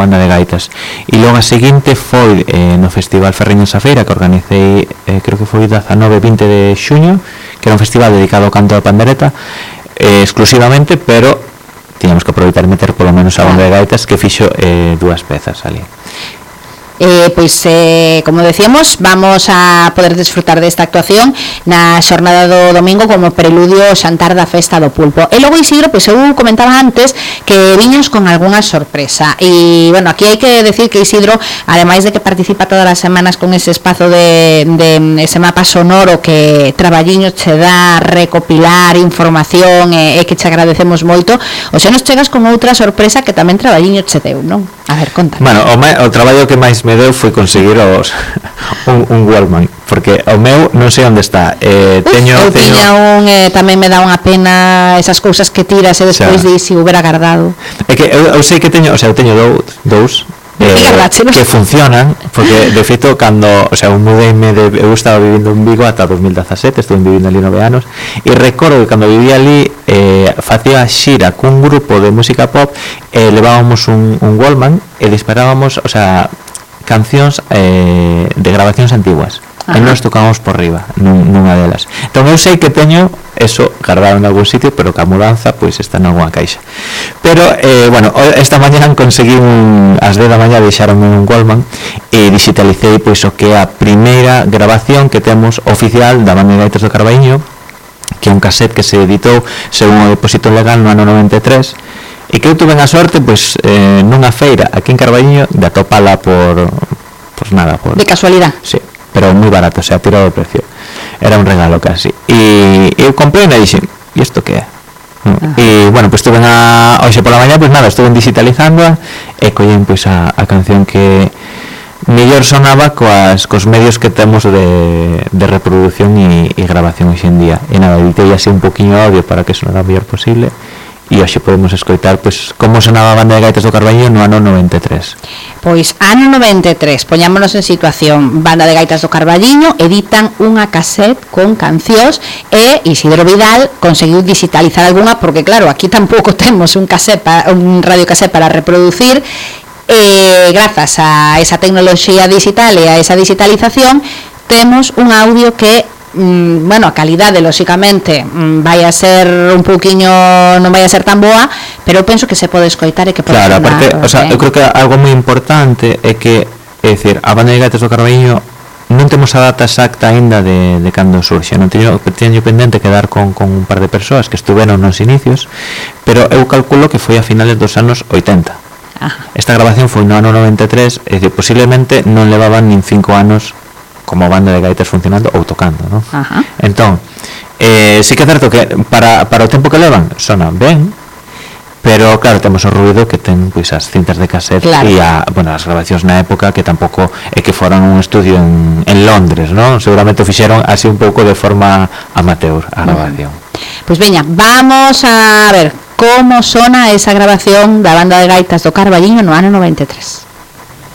banda de gaitas. E logo a seguinte foi no Festival Ferriños a Feira, que organicei, creo que foi 19-20 de xuño, que era un festival dedicado ao canto da pandereta exclusivamente, pero tiñamos que aproveitar e meter polo menos a banda de gaitas, que fixo 2 pezas ali. Como decíamos, vamos a poder disfrutar desta actuación na xornada do domingo como preludio ao xantar da Festa do Pulpo. E logo, Isidro, eu comentaba antes que viños con algunha sorpresa, e bueno, aquí hai que decir que Isidro, ademais de que participa todas as semanas con ese espazo de ese mapa sonoro que traballiño che dá recopilar información e que che agradecemos moito, o xa nos chegas con outra sorpresa que tamén traballiño che deu, non? A ver, conta. Bueno, o traballo que máis me deu foi conseguir un Walkman, porque o meu non sei onde está. Tiña un, tamén me dá unha pena esas cousas que tiras e despois dis se hubiera guardado. É que eu sei que teño, eu teño dous que funcionan, porque de feito cando, mudeime eu estaba vivindo en Vigo ata 2017, estuve vivindo ali 9 anos, e recordo que cando vivía ali facía xira cun grupo de música pop e levábamos un Walkman e disparábamos, cancións de grabacións antiguas. E nós tocábamos por riba nunha delas. Entón eu sei que teño eso guardado en algún sitio, pero que a mudanza pois está en alguna caixa. Pero esta mañá conseguí ás 10 da mañá deixaronme un Walkman e digitalicei pois o que é a primeira grabación que temos oficial da banda de gaitas do Carballiño, que é un cassette que se editou según o depósito legal no ano 93, e que eu tuve a sorte nunha feira aquí en Carballiño de atopala por de casualidad. Sí, pero moi barato, tirado o precio. Era un regalo casi. E eu comprei e dixen, e isto que é? E estuve hoxe pola mañá, estuve digitalizándoa e collín a canción que mellor sonaba cos medios que temos de reproducción e grabación hoxe en día. E nada, editei así un poquinho audio para que sonara o mellor posible. E hoxe podemos escoitar como sonaba a banda de gaitas do Carballiño no ano 93. Pois ano 93, poñámonos en situación. Banda de gaitas do Carballiño editan unha cassette con cancións e Isidro Vidal conseguiu digitalizar algunha, porque claro, aquí tampouco temos un radiocassette para reproducir. Grazas a esa tecnoloxía digital e a esa digitalización temos un audio que a calidade lóxicamente vai a ser un pouquiño, non vai a ser tan boa, pero eu penso que se pode escoitar e que pode sonar. Claro, aparte, eu creo que algo moi importante é que, a banda de gaitas do Carballiño non temos a data exacta aínda de cando surxe, non teño pendente quedar con un par de persoas que estuveron nos inicios, pero eu calculo que foi a finales dos anos 80. Esta grabación foi no ano 93, é dicir, posiblemente non levaban nin 5 anos como banda de gaitas funcionando ou tocando, non? Entón, sí que é certo que para o tempo que levan sonan ben, pero claro, temos o ruido que ten as cintas de cassette e as grabacións na época que tampouco é que foran un estudio en Londres, non? Seguramente o fixeron así un pouco de forma amateur a grabación. Pois veña, vamos a ver como sona esa grabación da banda de gaitas do Carballiño no ano 93.